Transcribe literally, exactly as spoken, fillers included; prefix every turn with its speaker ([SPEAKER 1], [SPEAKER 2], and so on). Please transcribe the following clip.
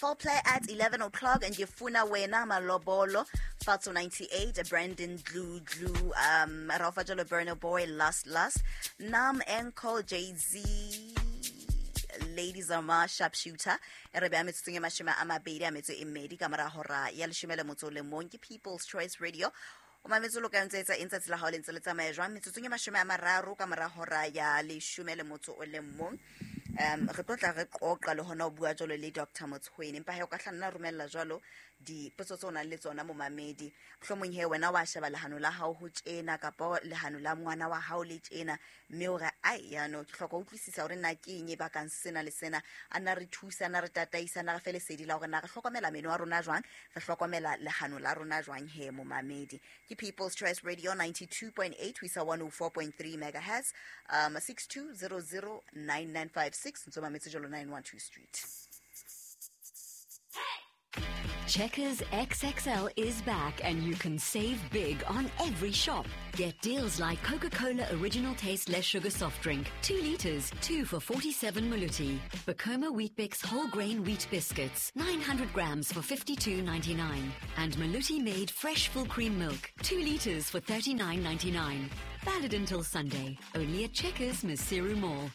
[SPEAKER 1] Foul Play at eleven o'clock and Ngifuna Wena Malobolo, Fatso ninety-eight, Brandon Dlu Dlu, um, Rafa Jalo Burner Boy, Last Last, Nam Enko, Jay-Z, Ladies Zama, Sharpshooter, e re beha metsotsong e mashome a mabedi a metso e mmedi ka mora hora ya leshome le motso o le mong. Ke People's Choice Radio. O mametse lo ka ntse etsa eng tsatsi la hao le ntse le tsamaya jwang? Metsotsong e mashome a mararo ka mora hora ya leshome le motso o le mong. Um, re tlo tla re qoqa le hona ho bua jwalo le Doctor Motshweni. Empa he o ka hla nna romella jwalo dipotso tseo o nang le tsona momamedi. Mohlomong he wena wa sheba lehano la hao ho tjena kapa lehano la ngwana wa hao le tjena, mme o re ai yano ke hloka ho utlwisisa hore na ke eng e bakang sena le sena. A nna re thusa, a nna re tataisa, a nna re fe lesedi la hore na re hlokomela meno a rona jwang, re hlokomela lehano la rona jwang he momamedi. Ke People's Choice Radio ninety-two point eight ho isa one oh four point three megahertz, um, six two zero zero nine nine five six, ntso mametse jalo nine one two Street.
[SPEAKER 2] Checkers X X L is back and you can save big on every shop. Get deals like Coca-Cola Original Taste Less Sugar Soft Drink, two liters, two for forty-seven Maluti. Bacoma Weet-Bix Whole Grain Wheat Biscuits, nine hundred grams for fifty-two ninety-nine. And Maluti Made Fresh Full Cream Milk, two liters for thirty-nine ninety-nine. Valid until Sunday, only at Checkers Maseru Mall.